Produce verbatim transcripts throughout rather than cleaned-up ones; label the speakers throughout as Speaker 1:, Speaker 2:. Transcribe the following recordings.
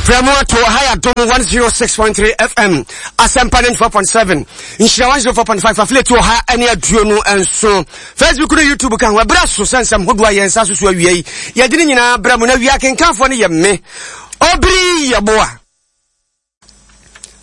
Speaker 1: Frɛ mu ato ha yɛ Adom one oh six point three F M, Asɛmpa ninety-four point seven, Nhyira one oh four point five, affiliate wɔ ha ne aduonu nson, Facebook no, YouTube ka ho. Ɛberɛ so sɛ nsɛm hodoɔ a yɛn nsa so so awia yi, yɛde ne nyinaa brɛ mu, na awia akenkanfoɔ no yɛ me Obiri Yɛboa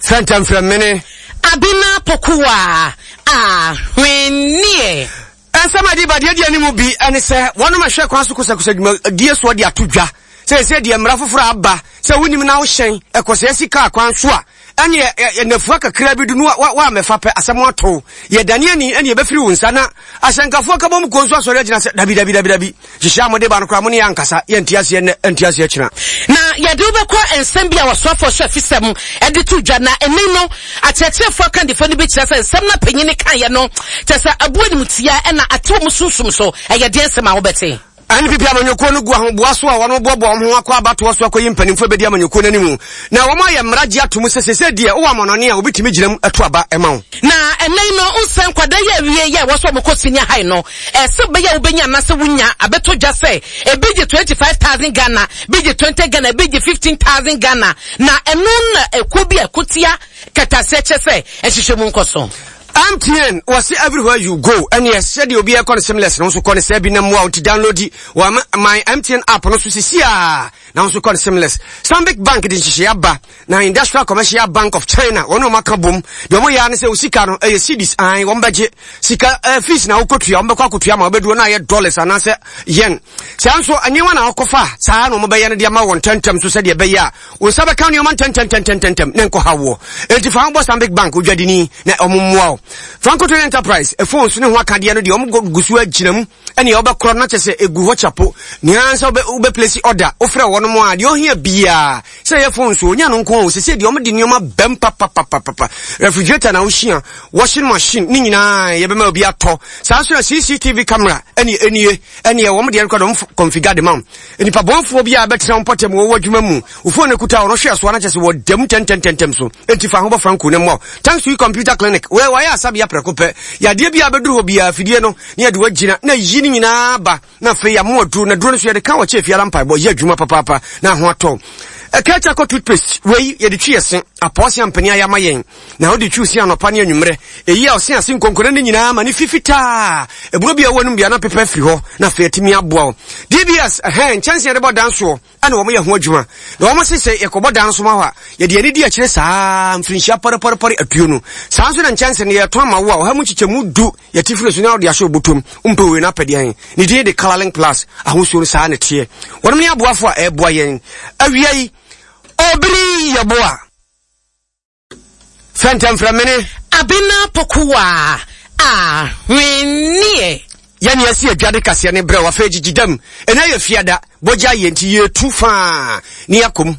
Speaker 1: fɛntɛmfrɛ mene
Speaker 2: Abena Pokuwa Ahwenneɛ.
Speaker 1: Ɛnsɛm adi ba deɛ di anim bi ɛne sɛ wɔnom ahwɛ kwan so kosakosa dwumadie soɔ de ato dwa sɛ ɛsɛ deɛ mmara foforɔ aba sɛ wonim na wohyɛn ɛkɔsɛɛ sika kwan so a, ɛne nnafua kakra bi do no woamɛfa pɛ, asɛm ato yɛdane ani ɛne yɛbɛfiri wo nsa. Na ahyɛnkafoɔ ka bɔ mu kuo nso asɔre agyina sɛ dabi, dabi, dabi, dabi, hyehyɛ a mode ba no koraa, mo ne yɛ ankasa yɛnte aseɛ nnɛ, ɛnte aseɛ kyena.
Speaker 2: Na yɛde wobɛkɔ nsɛm bi a wɔsoafoɔ hyɛ afisɛm ɛde to dwa, na ɛne no akyerɛkyerɛfoɔ akandifoɔ no bi kyerɛ sɛ nsɛm no panyini kaeɛ no kyerɛ sɛ aboa nimtia ɛna ate wɔ mu sunsum so. Ɛyɛ deɛ nsɛm a wobɛte.
Speaker 1: N P P amanyɔkuo no gu ahoboa so a wɔn boaboa wɔn ho akɔ abatoɔ so akɔyi mpanimfoɔ bɛdi amanyɔkuo no anim, na wɔn ayɛ mmara gye ato mu sɛ sɛsɛ deɛ wowɔ amannɔne a wobɛtumi gyina mu ɛto aba ɛma wo.
Speaker 2: Na ɛnɛ no nsɛ nkwadaa yi awie yɛ ɛwɔ sɛ ɔmokɔ senior high no, ɛsɛ bɛyɛ a wobɛnya anaasɛ wonya abɛtɔ dwa sɛ ebi gye twenty five thousand Ghana, bi gye twenty Ghana, ebi gye fifteen thousand Ghana, na ɛno na ekuo bi a ɛkotia kɛtɛaseɛ kyɛ sɛ ɛhyehyɛ mu nkɔ so.
Speaker 1: M T N wɔse everywhere you go, ɛneɛ sɛdeɛ obi ɛkɔ no seamless no nso kɔ no sɛ bi na mmoa wo, nti download wɔ my M T N app no so sisi a na nso kɔ no seamless. Stanbic Bank de nhyehyɛeɛ aba na Industrial Commercial Bank of China wɔn a wɔn aka bom deɛ, wɔn yɛ ne sɛ osika no ɛyɛ cedis an wɔn bɛgye sika ɛɛ fees na wokɔtua, wɔn bɛkɔ akɔtua ma wɔbɛduro na ayɛ dollars anaasɛ yen. Saa nso nneɛma na wɔkɔfa saa na wɔn bɛyɛ no de ama wɔn ntɛntɛm so sɛdeɛ ɛbɛyɛ a wɔn nsa bɛka nneɛma ntɛntɛntɛntɛntɛm ne nkɔ ha woɔ. Enti fa ho bɔ Stanbic Bank odwadini na wɔn mmoa wo. Franco Trading Enterprise phones ne ho akadeɛ no deɛ, wɔn gu so agyina mu ɛne wɔbɛkorɔ no kyɛ sɛ egu hɔ kyapo nea nsa wobɛ place order, wofrɛ wɔn mo a, deɛ ɔhia biara sɛ ɛyɛ phone so onya no nko o. Sɛ deɛ wɔn de nneɛma bɛm papapapapa, refrigerator na wohyia, washing machine ne nyinaa yɛbɛma obi atɔ. Saa nso na C C T V camera ɛne ɛnie ɛne wɔn deɛ no kɔ dɔm configure de ma wo. Nipa bɔnfoɔ bi a bɛtena wo mpɔtam wɔ adwuma mu, wo phone no kuta ɔno hwɛ soa no kyɛ sɛ wɔdam ntɛntɛntɛntɛm so. Enti fa ho bɔ Franco ne mmɔ. Thanks to Computer Clinic, wei wɔayɛ asabea prɛko pɛ. Yadeɛ bi a bɛduru hɔ biara, afidie no ne yɛde wagyina na yi no nyinaa ba, na afei yɛamo aduro na duro no so yɛde ka wɔkyɛ fiara mpaebɔ yɛ adwuma papaapa na ho atɔ. Ɛka kyɛ toothpaste wei yɛde twi yɛse apɔɔse ampani ayɛ ama yɛn, na wode twi si anɔpa ne anwummerɛ, ɛyi a ɔse ase nkonkone no nyinaa ma ne fifitaa ɛburo bi a ɛwɔ no bia na pepa afiri hɔ, na afei atumi aboa wo. D B S ɛhɛn nkyɛnse yɛde bɔ dan soɔ ɛna wɔn yɛ ho adwuma, na wɔn se sɛ yɛkɔbɔ dan so ma hɔ a, yɛde ani di akyire saa mfirinhyia pɔrepɔrepɔre aduonu. Saa nso na nkyɛnse no yɛtɔn ama wo a, ɔha mu nkyekyɛmu du yɛte firi so na wɔde ahyɛ obotom. Mpɛ wei na apɛdeɛ ne din de Colourlink Plus ahosuo no saa ne teɛ. Wɔn ne aboafo a ɛreboa yɛn awia yi. Obiri Yɛboa fɛntɛmfrɛmene
Speaker 2: Abena Pokuwa Ahwenneɛ.
Speaker 1: Yɛne asi adwade kaseɛ ne berɛ wafei gyigyi dam. Ɛnɛ yɛ fiada bɔgya yɛ, nti yɛtu faa ne yɛakɔm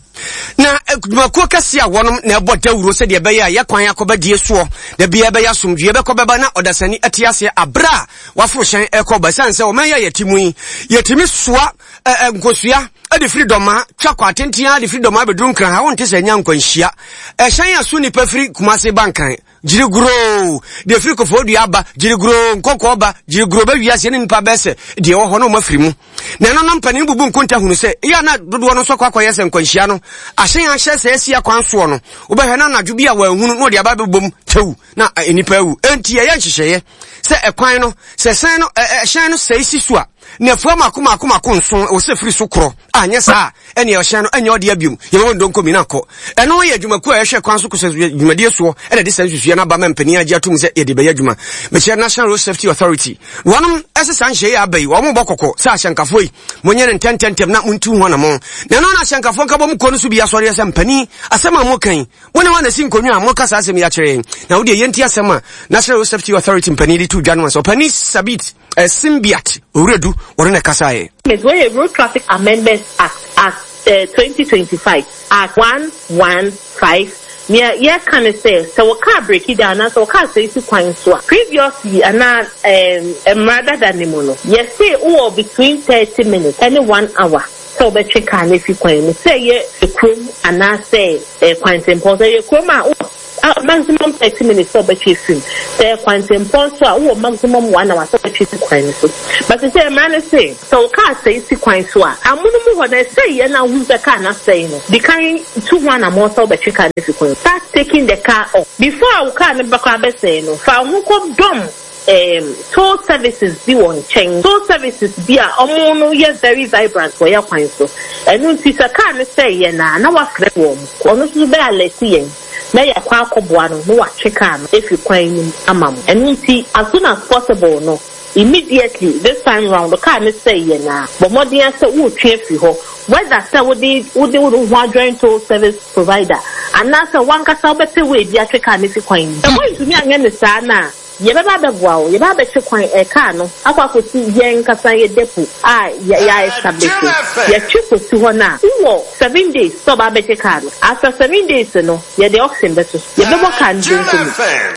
Speaker 1: na adwumakuo kɛseɛ a wɔnom na ɛbɔ dawuro sɛdeɛ ɛbɛyɛ a yɛkwan akɔbɛdie soɔ da bia ɛbɛyɛ asomdwie bɛkɔ bɛba na ɔdasani ɛte aseɛ aberɛ a waforo hyɛn ɛkɔ ba. Ɛsiane sɛ ɔman yi a yɛte mu yi, yɛtumi soa nkosua ɛde firi Dɔma twa kɔ atenten de firi Dɔma bɛduru Nkran ha, wonte sɛ ɛnya nkwanhyia. Ɛhyɛn a so nnipa firi Kumase ba Nkran gyiriguroo, deɛ firi Kofoɔ aba gyiriguroo, nkɔkɔɔ ba gyiriguroo, bɛ wiase ne nipa bɛɛ sɛ deɛ ɛwɔ hɔ na ɔma firi mu. Na ɛno no mpanin bubu nkonta hunu sɛ ɛyɛ na dodoɔ no nso akɔ akɔyɛ sɛ nkwanhyia no ahyɛn ahyɛ sɛ asi akwan soɔ no, wobɛhwɛ na anadwo bi a wɔahunu na ɔde aba bɛbom kyɛw na nnipa awu. Enti ɛyɛ nhyehyɛeɛ sɛ ɛkwan no sɛ hyɛn no ɛhyɛn no sɛe si so a, na afua mako mako mako nson wɔ sɛ firi so korɔ anyɛ saa ɛne ɔhyɛn no ɛnyɛ ɔde abiom yɛbɛbɔ ndonko mi na akɔ. Ɛno yɛ adwumakuo a ɛhwɛ kwan so kɔsɛ dwumadie soɔ ɛna de saa nsusua no aba ma mpanin agye atom sɛ yɛde bɛyɛ adwuma. Mekyerɛ National Road Safety Authority, wɔnom ɛsɛ saa nhyɛ yi aba yi, wɔn bɔ kɔkɔ sɛ ahyɛnkafoɔ yi monyɛ no ntɛntɛntɛm na montu ho anamɔ. Na ɛno na ahyɛnkafoɔ nkabɔ mu kuo no so bi asɔreɛ sɛ mpanin asɛm a mokan mo ne wɔn asi nkonnwa a moka saa asɛm yi akyerɛ yɛn, na wodeɛ yɛnti asɛm a National Road Safety Authority mpanin de to dwa no sɛ ɔpanin Sabit eh, Simbiat Owuredu wɔne na ɛkasaeɛ.
Speaker 3: Wɔyɛ Road Traffic Amendment Act Act uh, twenty twenty-five, Act one one five. Nea yɛka ne sɛ sɛ wɔka break down anaasɛ wɔka sɛ esi kwan so a, previously anaa um, mmara dada ne mu no, yɛse wowɔ between thirty minutes ɛne one hour sɛ wobɛtwe kaa no afi kwan mu, sɛ ɛyɛ kurom anaasɛ eh, kwantempɔn. Sɛ ɛyɛ kurom a, wowɔ uh, maximum thirty minutes sɛ ɔbɛtwe fim. Sɛ kwantempɔn so a, wowɔ maximum one hour sɛ ɔbɛtwe si kwan no so. But sɛ mmara no se sɛ wo kaa sɛe si kwan so a, amono mu hɔ na ɛsɛ yɛ na wohu sɛ kaa no asɛe no, di kan tu ho anammɔn sɛ wobɛtwe kaa no fi kwan. Start taking the car off before a wo kaa no bɛkɔ abɛsɛe no. Fa wo ho kɔ dɔm um, toll services bi wɔ nkyɛn, toll services bi a ɔmo no yɛ very vibrant wɔ yɛ kwan so. Ɛno nti sɛ kaa no sɛe yɛ na na wafrɛ wɔn, ɔno nso bɛ alert yɛn na yɛakɔ akɔboa no na watwe kaa no efi kwan no mu ama mo. Ɛno nti as soon as possible no, immediately this time round, kaa no sɛe yɛ na bɔ mmɔden sɛ wotwe afiri hɔ, whether sɛ wode wode wo ho adjoin toll service provider anaasɛ wankasa wobɛpɛ wo ebi atwe kaa no fi kwan mu. Sɛ wontumi anyɛ ne saa na yɛbɛba abɛboa wo, yɛbɛba abɛtwe kwan ɛ kaa no akɔ akɔsi yɛn nkasa yɛ depot a yɛ yɛ establish. Yɛtwe kɔsi hɔ no a, wowɔ seven days sɛ ɔba abɛgye kaa no. After seven days no, yɛde auction bɛto so, yɛbɛbɔ kaa no donko mu.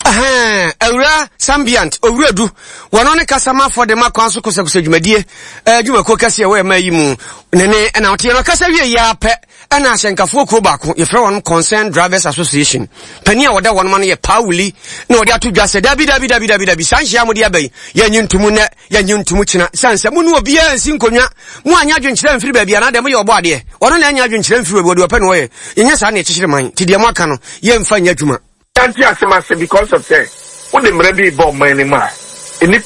Speaker 1: Awura Sambiant Owuradu, wɔno ne kasamafoɔ de ma kwan so kosɛkosɛ dwumadie adwumakuo kɛseɛ ɛwɔ ɛma yi mu ne ne ɛna ɔteɛ no ɔkasa wie yi ara pɛ, ɛna ahyɛnkafoɔ kuo baako yɛfrɛ wɔn Concerned Drivers Association panin a wɔda wɔn ma no yɛ Paawuli na wɔde ato dwa sɛ dabi, dabi, dabi, dabi, dabi, saa nhyia mo de aba yi, yɛnyi ntomu nnɛ, yɛnyi ntomu kyena, sane sɛ mo ne obiara nsi nkonnwa, mo anyɛ adwenkyerɛ mfiri baabi anaa deɛ moyɛ ɔbɔ adeɛ ɔno na ɛnyɛ adwenkyerɛ mfiri baabi, wɔde ɔpɛ na ɔyɛ. Yɛnyɛ saa na yɛkyekyere man, nti deɛ mo aka no yɛmfa nyɛ adwuma.
Speaker 4: Yɛnte asɛm ase because of sɛ wode mmerɛ bi bɔ ɔman no mu a nnipa